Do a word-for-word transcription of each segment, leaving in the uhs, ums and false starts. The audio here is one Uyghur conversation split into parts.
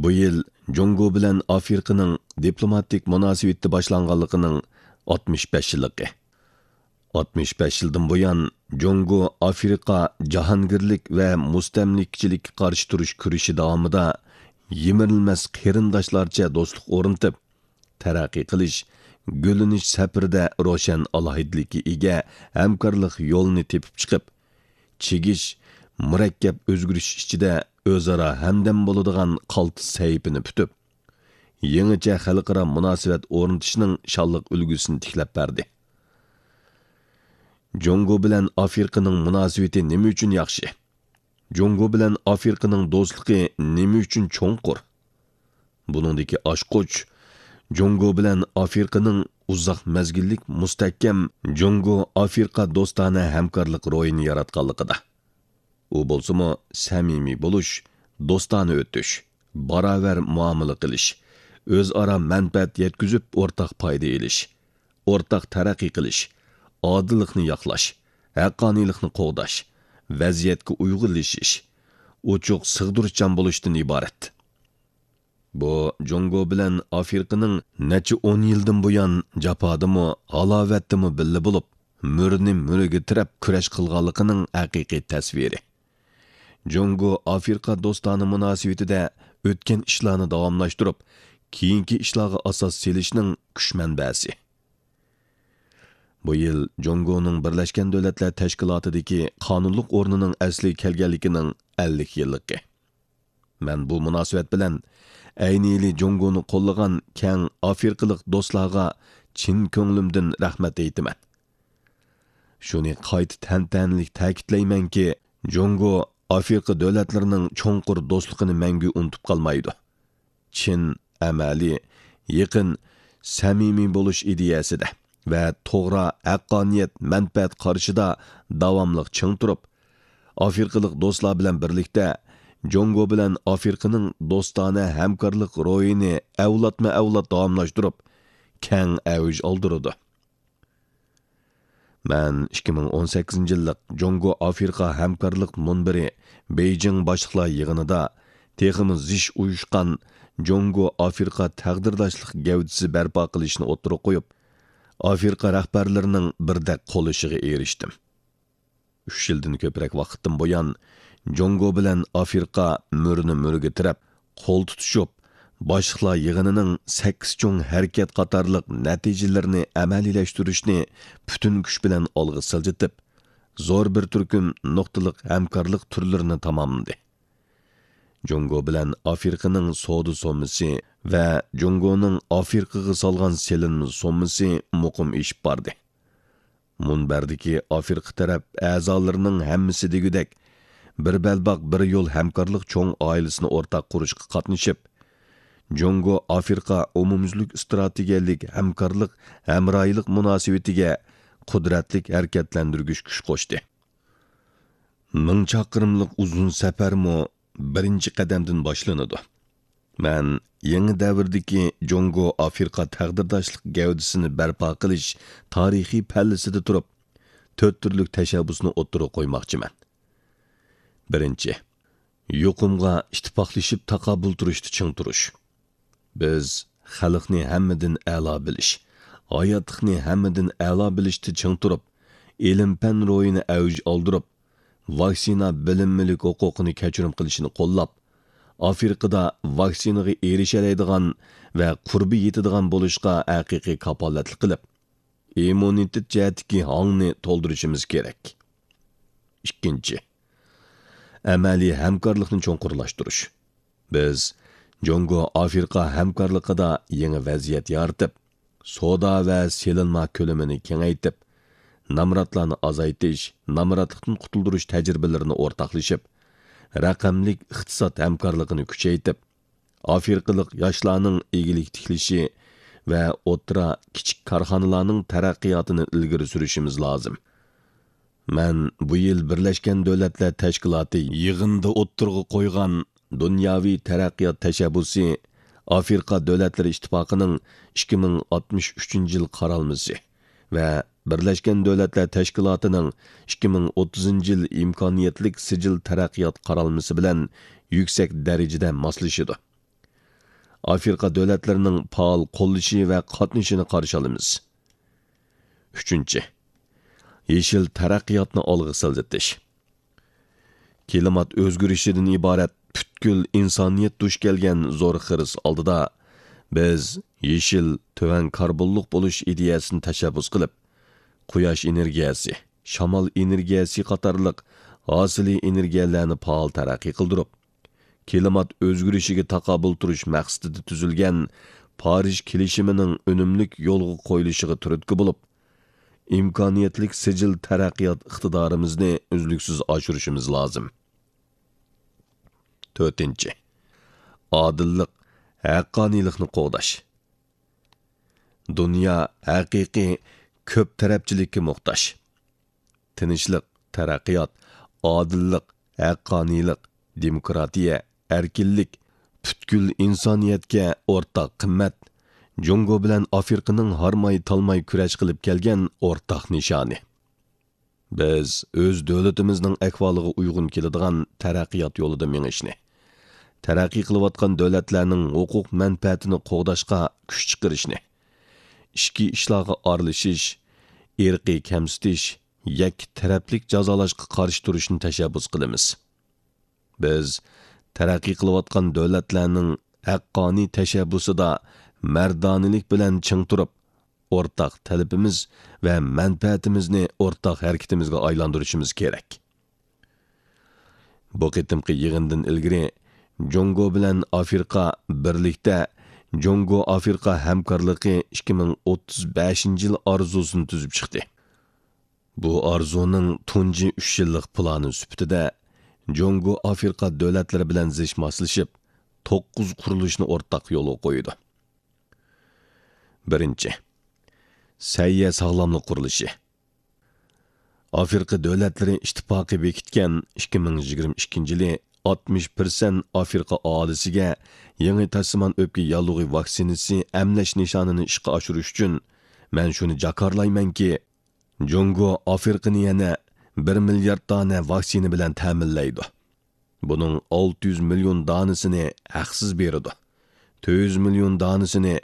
بۇ يىل جۇڭگو بىلەن ئافرىقىنىڭ دىپلوماتىك مۇناسىۋىتى باشلانغانلىقىنىڭ ئاتمىش بەش يىللىقى. ئاتمىش بەش يىلدىن بۇيان، جۇڭگو ئافرىقا جاھانگىرلىك ۋە مۇستەملىكىچىلىككە قارشى تۇرۇش كۈرىشى داۋامىدا يىمىرىلمەس قېرىنداشلارچە دوستلۇق ئورنىتىپ، تەرەققىي قىلىش، گۈللىنىش سەپىرىدە روشەن ئالاھىدىلىككە ئىگە ھەمكارلىق يولىنى تېپىپ چىقىپ، چىگىش، مۇرەككەپ ئۆزگىرىش ئىچىدە ئۆزئارا ھەمدەم بولىدىغان قالتىس سەھىپىنى پۈتۈپ، يېڭىچە خەلقئارا مۇناسىۋەت ئورنىتىشنىڭ شانلىق ئۈلگىسىنى تىكلەپ بەردى. جۇڭگو بىلەن ئافرىقىنىڭ مۇناسىۋىتى نېمە ئۈچۈن ياخشى؟ جۇڭگو بىلەن ئافرىقىنىڭ دوستلۇقى نېمە ئۈچۈن چوڭقۇر؟ بۇنىڭدىكى ئاچقۇچ، جۇڭگو بىلەن ئافرىقىنىڭ ئۇزاق مەزگىللىك مۇستەھكەم جۇڭگو ئافرىقا دوستانە ھەمكارلىق روھىنى ياراتقانلىقىدا. ئۇ بولسىمۇ سەمىمىي بولۇش، دوستانە ئۆتۈش، باراۋەر مۇئامىلە قىلىش، ئۆزئارا مەنپەئەت يەتكۈزۈپ ئورتاق پايدا ئېلىش، ئورتاق تەرەققىي قىلىش، ئادىللىقنى ياقلاش، ھەققانىيلىقنى قوغداش، ۋەزىيەتكە ئۇيغۇنلىشىش، ئوچۇق سىغدۇرۇشچان بولۇشتىن ئىبارەت. بۇ جۇڭگو بىلەن ئافرىقىنىڭ نەچچە ئون يىلدىن بۇيان جاپادىمۇ، ھالاۋەتتىمۇ بىللە بولۇپ، مۈرىنى مۈرىگە تىرەپ كۈرەش قىلغانلىقىنىڭ ھەقىقىي تەسۋىرى. جۇڭگو ئافرىقا دوستانە مۇناسىۋىتىدە ئۆتكەن ئىشلارنى داۋاملاشتۇرۇپ، كېيىنكى ئىشلارغا ئاساس سېلىشنىڭ كۈچ مەنبەسى. بۇ يىل جۇڭگونىڭ بىرلەشكەن دۆلەتلەر تەشكىلاتىدىكى قانۇنلۇق ئورنىنىڭ ئەسلىگە كەلگەنلىكىنىڭ ئەللىك يىللىقى. مەن بۇ مۇناسىۋەت بىلەن ئەينىلى جۇڭگونى قوللىغان كەڭ ئافرىقىلىق دوستلارغا چىن كۆڭلۈمدىن رەھمەت ئېيتىمەن. شۇنى قايتا تەنتەنىلىك تەكىتلەيمەنكى، جۇڭگو ئافرىقا دۆلەتلىرىنىڭ چوڭقۇر دوستلۇقىنى مەڭگۈ ئۇنتۇپ قالمايدۇ. چىن، ئەمەلىي، يېقىن، سەمىمىي بولۇش ئىدىيەسىدە ۋە توغرا، ھەققانىيەت، مەنپەئەت قارىشىدا داۋاملىق چىڭ تۇرۇپ، ئافرىقىلىق دوستلار بىلەن بىرلىكتە جۇڭگو بىلەن ئافرىقىنىڭ دوستانە ھەمكارلىق روھىنى ئەۋلادمۇ ئەۋلاد داۋاملاشتۇرۇپ، كەڭ ئەۋج ئالدۇرىدۇ. مەن ئىككى مىڭ ئون سەككىزىنچى يىللىق جۇڭگو ئافرىقا ھەمكارلىق مۇنبىرى بېيجىڭ باشلىقلار يىغىنىدا تېخىمۇ زىچ ئۇيۇشقان جۇڭگو ئافرىقا تەقدىرداشلىق گەۋدىسى بەرپا قىلىشنى ئوتتۇرىغا قويۇپ، ئافرىقا رەھبەرلىرىنىڭ بىردەك قوللىشىغا ئېرىشتىم. ئۈچ يىلدىن كۆپرەك ۋاقىتتىن بۇيان، جۇڭگو بىلەن ئافرىقا مۈرىنى مۈرىگە تىرەپ، قول تۇتۇشۇپ، باشلىقلار يىغىنىنىڭ سەككىز چوڭ ھەرىكەت قاتارلىق نەتىجىلىرىنى ئەمەلىيلەشتۈرۈشنى پۈتۈن كۈچ بىلەن ئالغا سىلجىتىپ، زور بىر تۈركۈم نۇقتىلىق ھەمكارلىق تۈرلىرىنى تاماملىدى. جۇڭگو بىلەن ئافرىقىنىڭ سودا سوممىسى ۋە جۇڭگونىڭ ئافرىقىغا سالغان سېلىنما سوممىسى مۇقىم ئېشىپ باردى. مۇنبەردىكى ئافرىقا تەرەپ ئەزالىرىنىڭ ھەممىسى دېگۈدەك، بىر بەلباغ، بىر يول ھەمكارلىق چوڭ ئائىلىسىنى ئورتاق قۇرۇشقا قاتنىشىپ، جۇڭگو ئافرىقا ئومۇميۈزلۈك ئىستراتېگىيەلىك ھەمكارلىق، ھەمراھلىق مۇناسىۋىتىگە قۇدرەتلىك ھەرىكەتلەندۈرگۈچ كۈچ قوشتى. مىڭ چاقىرىملىق ئۇزۇن سەپەرمۇ بىرىنچى قەدەمدىن باشلىنىدۇ. مەن يېڭى دەۋردىكى جۇڭگو ئافرىقا تەقدىرداشلىق گەۋدىسىنى بەرپا قىلىش تارىخىي پەللىسىدە تۇرۇپ، تۆت تۈرلۈك تەشەببۇسنى ئوتتۇرىغا قويماقچىمەن. بىرىنچى، يۇقۇمغا ئىتتىپاقلىشىپ تاقابىل تۇرۇشتا چىڭ تۇرۇش. بىز خەلقنى ھەممىدىن ئەلا بىلىش، ھاياتلىقنى ھەممىدىن ئەلا بىلىشتە چىڭ تۇرۇپ، ئىلىم-پەن روھىنى ئەۋج ئالدۇرۇپ، ۋاكسىنا بىلىنمىلىك ھوقۇقىنى كەچۈرۈم قىلىشنى قوللاپ، ئافرىقىدا ۋاكسىنىغا ئېرىشەلەيدىغان ۋە قۇربى يېتىدىغان بولۇشقا ھەقىقىي كاپالەتلىك قىلىپ، ئىممۇنىتېت جەھەتتىكى ھاڭنى تولدۇرۇشىمىز كېرەك. ئىككىنچى، ئەمەلىي ھەمكارلىقنى چوڭقۇرلاشتۇرۇش. بىز جۇڭگو ئافرىقا ھەمكارلىقىدا يېڭى ۋەزىيەت يارىتىپ، سودا ۋە سېلىنما كۆلىمىنى كېڭەيتىپ، نامراتلارنى ئازايتىش، نامراتلىقتىن قۇتۇلدۇرۇش تەجرىبىلىرىنى ئورتاقلىشىپ، رەقەملىك ئىقتىساد ھەمكارلىقىنى كۈچەيتىپ، ئافرىقىلىق ياشلارنىڭ ئىگىلىك تىكلىشى ۋە ئوتتۇرا، كىچىك كارخانىلارنىڭ تەرەققىياتىنى ئىلگىرى سۈرۈشىمىز لازىم. مەن بۇ يىل بىرلەشكەن دۆلەتلەر تەشكىلاتى يىغىنىدا ئوتتۇرىغا قويغان دۇنياۋى تەرەققىيات تەشەببۇسى، ئافرىقا دۆلەتلىرى ئىتتىپاقىنىڭ ئىككى مىڭ ئاتمىش ئۈچىنچى يىل قارالمىسى ۋە بىرلەشكەن دۆلەتلەر تەشكىلاتىنىڭ ئىككى مىڭ ئوتتۇزىنچى يىل ئىمكانىيەتلىك سىجىل تەرەققىيات قارالمىسى بىلەن يۈكسەك دەرىجىدە ماسلىشىدۇ. ئافرىقا دۆلەتلىرىنىڭ پائال قوللىشى ۋە قاتنىشىنى قارشى ئالىمىز. ئۈچىنچى، يېشىل تەرەققىياتنى ئالغا سىلجىتىش. كىلىمات ئۆزگىرىشىدىن ئىبارەت پۈتكۈل ئىنسانىيەت دۇچ كەلگەن زور خىرىس ئالدىدا، بىز يېشىل، تۆۋەن كاربونلۇق بولۇش ئىدىيەسىنى تەشەببۇس قىلىپ، قۇياش ئېنېرگىيەسى، شامال ئېنېرگىيەسى قاتارلىق ھاسىلىي ئېنېرگىيەلەرنى پائال تەرەققىي قىلدۇرۇپ، كىلىمات ئۆزگىرىشىگە تاقابىل تۇرۇش مەقسىتىدە تۈزۈلگەن پارىژ كېلىشىمىنىڭ ئۈنۈملۈك يولغا قويۇلۇشىغا تۈرتكە بولۇپ، ئىمكانىيەتلىك سىجىل تەرەققىيات ئىقتىدارىمىزنى ئۈزلۈكسىز ئاشۇرۇشىمىز لازىم. تۆتىنچى، ئادىللىق، ھەققانىيلىقنى قوغداش. دۇنيا ھەقىقىي كۆپ تەرەپچىلىككە موھتاج. تىنچلىق، تەرەققىيات، ئادىللىق، ھەققانىيلىق، دېموكراتىيە، ئەركىنلىك، پۈتكۈل ئىنسانىيەتكە ئورتاق قىممەت، جۇڭگو بىلەن ئافرىقىنىڭ ھارماي-تالماي كۈرەش قىلىپ كەلگەن ئورتاق نىشانى. بىز ئۆز دۆلىتىمىزنىڭ ئەھۋالىغا ئۇيغۇن كېلىدىغان تەرەققىيات يولىدا مېڭىشنى، تەرەققىي قىلىۋاتقان دۆلەتلەرنىڭ ھوقۇق مەنپەئەتىنى قوغداشقا كۈچ چىقىرىشنى، ئىچكى ئىشلارغا ئارىلىشىش، ئىرقىي كەمسىتىش، يەككە تەرەپلىك جازالاشقا قارشى تۇرۇشنى تەشەببۇس قىلىمىز. بىز تەرەققىي قىلىۋاتقان دۆلەتلەرنىڭ ھەققانىي تەشەببۇسىدا مەردانىلىك بىلەن چىڭ تۇرۇپ، ئورتاق تەلىپىمىز ۋە مەنپەئەتىمىزنى ئورتاق ھەرىكىتىمىزگە ئايلاندۇرۇشىمىز كېرەك. بۇ قېتىمقى يىغىندىن ئىلگىرى، جۇڭگو بىلەن ئافرىقا بىرلىكتە جۇڭگو ئافرىقا ھەمكارلىقى ئىككى مىڭ ئوتتۇز بەشىنچى يىل ئارزۇسىنى تۈزۈپ چىقتى. بۇ ئارزۇنىڭ تۇنجى ئۈچ يىللىق پىلانى سۈپىتىدە، جۇڭگو ئافرىقا دۆلەتلىرى بىلەن زىچ ماسلىشىپ، توققۇز قۇرۇلۇشنى ئورتاق يولغا قويىدۇ. بىرىنچى، سەھىيە ساغلاملىق قۇرۇلۇشى. ئافرىقا دۆلەتلىرى ئىتتىپاقى بېكىتكەن ئىككى مىڭ يىگىرمە ئىككىنچى يىلى ئاتمىش پىرسەنت ئافرىقا ئاھالىسىگە يېڭى تاشسىمان ئۆپكە ياللۇغى ۋاكسىنىسى ئەملەش نىشانىنى ئىشقا ئاشۇرۇش ئۈچۈن، مەن شۇنى جاكارلايمەنكى، جۇڭگو ئافرىقىنى يەنە بىر مىليارد دانە ۋاكسىنا بىلەن تەمىنلەيدۇ. بۇنىڭ ئالتە يۈز مىليون دانىسىنى ھەقسىز بېرىدۇ. تۆت يۈز مىليون دانىسىنى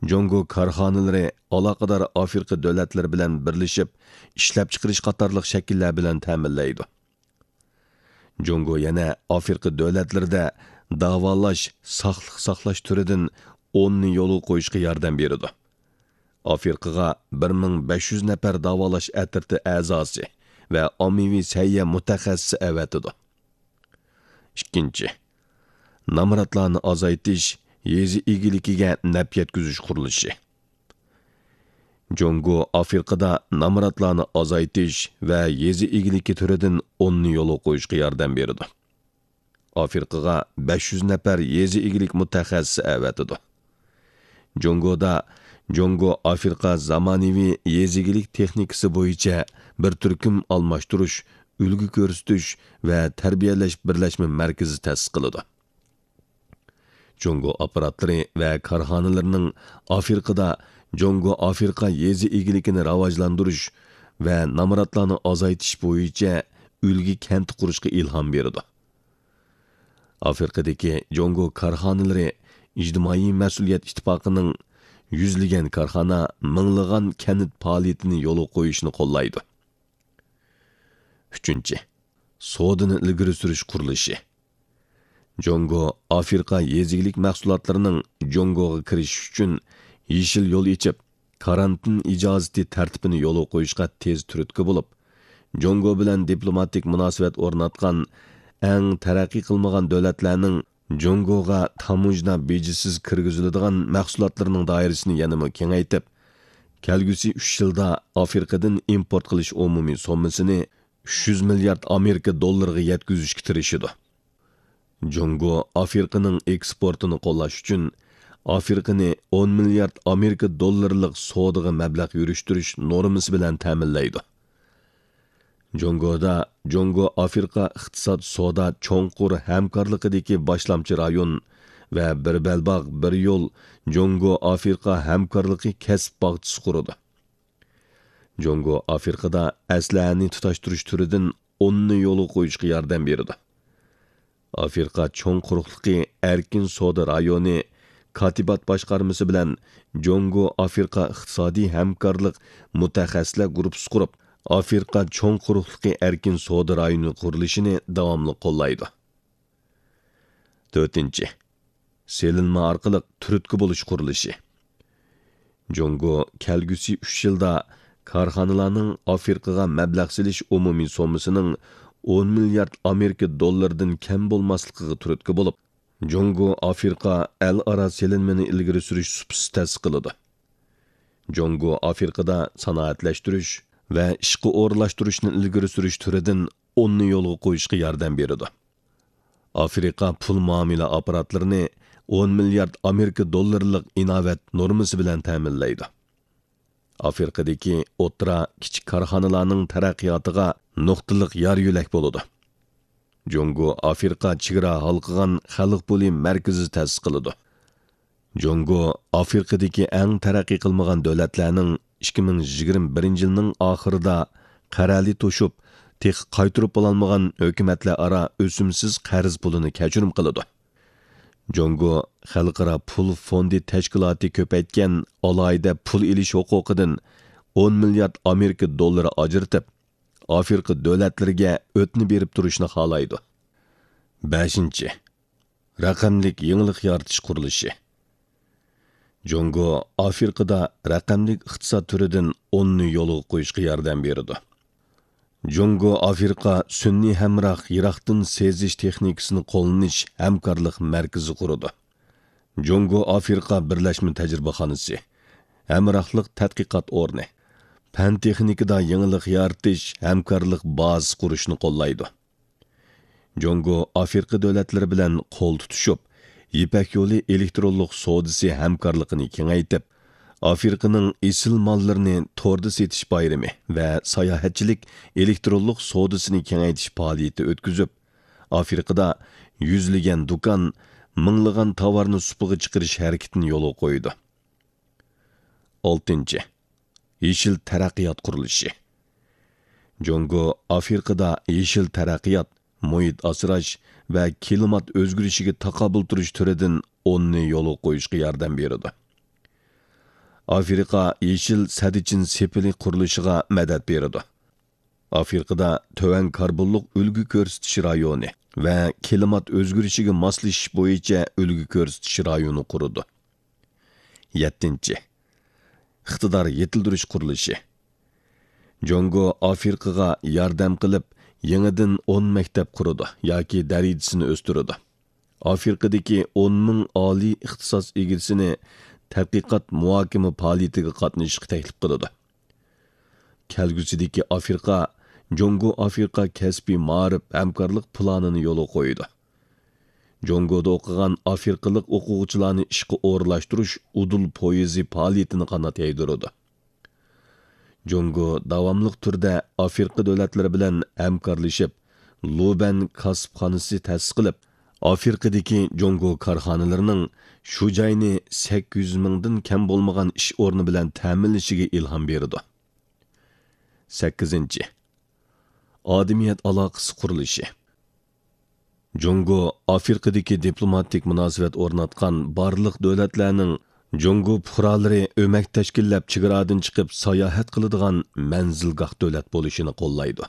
جۇڭگو كارخانىلىرى ئالاقىدار ئافرىقا دۆلەتلىرى بىلەن بىرلىشىپ ئىشلەپچىقىرىش قاتارلىق شەكىللەر بىلەن تەمىنلەيدۇ. جۇڭگو يەنە ئافرىقا دۆلەتلىرىدە داۋالاش، ساقلىق ساقلاش تۈرىدىن ئوننى يولغا قويۇشقا ياردەم بېرىدۇ. ئافرىقىغا بىر مىڭ بەش يۈز نەپەر داۋالاش ئەترىتى ئەزاسى ۋە ئاممىۋى سەھىيە مۇتەخەسسىسى ئەۋەتىدۇ. ئىككىنچى، نامراتلارنى ئازايتىش، يېزا ئىگىلىكىگە نەپ يەتكۈزۈش قۇرۇلۇشى. جۇڭگو ئافرىقىدا نامراتلارنى ئازايتىش ۋە يېزا ئىگىلىكى تۈرىدىن ئوننى يولغا قويۇشقا ياردەم بېرىدۇ. ئافرىقىغا بەش يۈز نەپەر يېزا ئىگىلىك مۇتەخەسسىسى ئەۋەتىدۇ. جۇڭگودا جۇڭگو ئافرىقا زامانىۋى يېزا ئىگىلىك تېخنىكىسى بويىچە بىر تۈركۈم ئالماشتۇرۇش، ئۈلگە كۆرسىتىش ۋە تەربىيەلەش بىرلەشمە مەركىزى تەسىس قىلىدۇ. جۇڭگو ئاپپاراتلىرى ۋە كارخانىلىرىنىڭ ئافرىقىدا جۇڭگو ئافرىقا يېزا ئىگىلىكىنى راۋاجلاندۇرۇش ۋە نامراتلارنى ئازايتىش بويىچە ئۈلگە كەنت قۇرۇشقا ئىلھام بېرىدۇ. ئافرىقىدىكى جۇڭگو كارخانىلىرى ئىجتىمائىي مەسئۇلىيەت ئىتتىپاقىنىڭ يۈزلىگەن كارخانا، مىڭلىغان كەنت پائالىيىتىنى يولغا قويۇشنى قوللايدۇ. ئۈچىنچى، سودىنى ئىلگىرى سۈرۈش قۇرۇلۇشى. جۇڭگو ئافرىقا يېزا ئىگىلىك مەھسۇلاتلىرىنىڭ جۇڭگوغا كىرىشىش ئۈچۈن يېشىل يول ئېچىپ، كارانتىن ئىجازىتى تەرتىپىنى يولغا قويۇشقا تېز تۈرتكە بولۇپ، جۇڭگو بىلەن دىپلوماتىك مۇناسىۋەت ئورناتقان ئەڭ تەرەققىي قىلمىغان دۆلەتلەرنىڭ جۇڭگوغا تاموژنا بېجىسىز كىرگۈزۈلىدىغان مەھسۇلاتلىرىنىڭ دائىرىسىنى يەنىمۇ كېڭەيتىپ، كەلگۈسى ئۈچ يىلدا ئافرىقىدىن ئىمپورت قىلىش ئومۇمىي سوممىسىنى ئۈچ يۈز مىليارد ئامېرىكا دوللىرىغا يەتكۈزۈشكە تىرىشىدۇ. جۇڭگو ئافرىقىنىڭ ئېكسپورتىنى قوللاش ئۈچۈن ئافرىقىنى ئون مىليارد ئامېرىكا دوللىرىلىق سودىغا مەبلەغ يۈرۈشتۈرۈش نورمىسى بىلەن تەمىنلەيدۇ. جۇڭگودا جۇڭگو ئافرىقا ئىقتىساد سودا چوڭقۇر ھەمكارلىقىدىكى باشلامچى رايون ۋە بىر بەلباغ، بىر يول جۇڭگو ئافرىقا ھەمكارلىقى كەسىپ باغچىسى قۇرىدۇ. جۇڭگو ئافرىقىدا ئەسلىھەنى تۇتاشتۇرۇش تۈرىدىن ئوننى يولغا قويۇشقا ياردەم بېرىدۇ. ئافرىقا چوڭ قۇرۇقلۇقى ئەركىن سودا رايونى كاتىبات باشقارمىسى بىلەن جۇڭگو ئافرىقا ئىقتىسادىي ھەمكارلىق مۇتەخەسسىسلەر گۇرۇپپىسى قۇرۇپ، ئافرىقا چوڭ قۇرۇقلۇقى ئەركىن سودا رايونى قۇرۇلۇشىنى داۋاملىق قوللايدۇ. تۆتىنچى، سېلىنما ئارقىلىق تۈرتكە بولۇش قۇرۇلۇشى. جۇڭگو كەلگۈسى ئۈچ يىلدا كارخانىلارنىڭ ئافرىقىغا مەبلەغ سېلىش ئومۇمىي سوممىسىنىڭ ئون مىليارد ئامېرىكا دوللىرىدىن كەم بولماسلىقىغا تۈرتكە بولۇپ، جۇڭگو ئافرىقا ئەلئارا سېلىنمىنى ئىلگىرى سۈرۈش سۇپىسى تەسىس قىلىدۇ. جۇڭگو ئافرىقىدا سانائەتلەشتۈرۈش ۋە ئىشقا ئورۇنلاشتۇرۇشنى ئىلگىرى سۈرۈش تۈرىدىن ئوننى يولغا قويۇشقا ياردەم بېرىدۇ. ئافرىقا پۇل مۇئامىلە ئاپپاراتلىرىنى ئون مىليارد ئامېرىكا دوللىرىلىق ئىناۋەت نورمىسى بىلەن تەمىنلەيدۇ. ئافرىقىدىكى ئوتتۇرا، كىچىك كارخانىلارنىڭ تەرەققىياتىغا نۇقتىلىق يار يۆلەك بولىدۇ. جۇڭگو ئافرىقا چېگرا ھالقىغان خەلق پۇلى مەركىزى تەسىس قىلىدۇ. جۇڭگو ئافرىقىدىكى ئەڭ تەرەققىي قىلمىغان دۆلەتلەرنىڭ ئىككى مىڭ يىگىرمە بىرىنچى يىلنىڭ ئاخىرىدا قەرەلى توشۇپ، تېخى قايتۇرۇپ بولالمىغان ھۆكۈمەتلەر ئارا ئۆسۈمسىز قەرز پۇلىنى كەچۈرۈم قىلىدۇ. جۇڭگو خەلقئارا پۇل فوندى تەشكىلاتى كۆپەيتكەن ئالاھىدە پۇل ئېلىش ھوقۇقىدىن ئون مىليارد ئامېرىكا دوللىرى ئاجرىتىپ، ئافرىقا دۆلەتلىرىگە ئۆتنە بېرىپ تۇرۇشنى خالايدۇ. بەشىنچى، رەقەملىك يېڭىلىق يارىتىش قۇرۇلۇشى. جۇڭگو ئافرىقىدا رەقەملىك ئىقتىساد تۈرىدىن ئوننى يولغا قويۇشقا ياردەم بېرىدۇ. جۇڭگو ئافرىقا سۈنئىي ھەمراھ يىراقتىن سېزىش تېخنىكىسىنى قوللىنىش ھەمكارلىق مەركىزى قۇرىدۇ. جۇڭگو ئافرىقا بىرلەشمە تەجرىبىخانىسى، ھەمراھلىق تەتقىقات ئورنى، پەن تېخنىكىدا يېڭىلىق يارىتىش ھەمكارلىق بازىسى قۇرۇشنى قوللايدۇ. جۇڭگو ئافرىقا دۆلەتلىرى بىلەن قول تۇتۇشۇپ، يىپەك يولى ئېلېكترونلۇق سودىسى ھەمكارلىقىنى كېڭەيتىپ، ئافرىقىنىڭ ئېسىل ماللىرىنى توردا سېتىش بايرىمى ۋە ساياھەتچىلىك ئېلېكترونلۇق سودىسىنى كېڭەيتىش پائالىيىتى ئۆتكۈزۈپ، ئافرىقىدا يۈزلىگەن دۇكان، مىڭلىغان تاۋارنى سۇپىغا چىقىرىش ھەرىكىتىنى يولغا قويىدۇ. ئالتىنچى، يېشىل تەرەققىيات قۇرۇلۇشى. جۇڭگو ئافرىقىدا يېشىل تەرەققىيات، مۇھىت ئاسراش ۋە كىلىمات ئۆزگىرىشىگە تاقابىل تۇرۇش تۈرىدىن ئوننى يولغا قويۇشقا ياردەم بېرىدۇ. ئافرىقا يېشىل سەددىچىن سېپىلى قۇرۇلۇشىغا مەدەت بېرىدۇ. ئافرىقىدا تۆۋەن كاربونلۇق ئۈلگە كۆرسىتىش رايونى ۋە كىلىمات ئۆزگىرىشىگە ماسلىشىش بويىچە ئۈلگە كۆرسىتىش رايونى قۇرىدۇ. يەتتىنچى، ئىقتىدار يېتىلدۈرۈش قۇرۇلۇشى. جۇڭگو ئافرىقىغا ياردەم قىلىپ، يېڭىدىن ئون مەكتەپ قۇرىدۇ ياكى دەرىجىسىنى ئۆستۈرىدۇ. ئافرىقىدىكى ئون مىڭ ئالىي ئىختىساس ئىگىسىنى تەتقىقات مۇھاكىمە پائالىيىتىگە قاتنىشىشقا تەكلىپ قىلىدۇ. كەلگۈسىدىكى ئافرىقا، جۇڭگو ئافرىقا كەسپىي مائارىپ ھەمكارلىق پىلانىنى يولغا قويىدۇ. جۇڭگودا ئوقۇغان ئافرىقىلىق ئوقۇغۇچىلارنى ئىشقا ئورۇنلاشتۇرۇش ئۇدۇل پويىزى پائالىيىتىنى قانات يايدۇرىدۇ. جۇڭگو داۋاملىق تۈردە ئافرىقا دۆلەتلىرى بىلەن ھەمكارلىشىپ، لۇبەن كاسىپخانىسى تەسىس قىلىپ، ئافرىقىدىكى جۇڭگو كارخانىلىرىنىڭ شۇ جاينى سەككىز يۈز مىڭدىن كەم بولمىغان ئىش ئورنى بىلەن تەمىنلىشىگە ئىلھام بېرىدۇ. سەككىزىنچى، ئادەمىيەت ئالاقىسى قۇرۇلۇشى. جۇڭگو ئافرىقىدىكى دىپلوماتىك مۇناسىۋەت ئورناتقان بارلىق دۆلەتلەرنىڭ جۇڭگو پۇقرالىرى ئۆمەك تەشكىللەپ، چېگرادىن چىقىپ ساياھەت قىلىدىغان مەنزىلگاھ دۆلەت بولۇشىنى قوللايدۇ.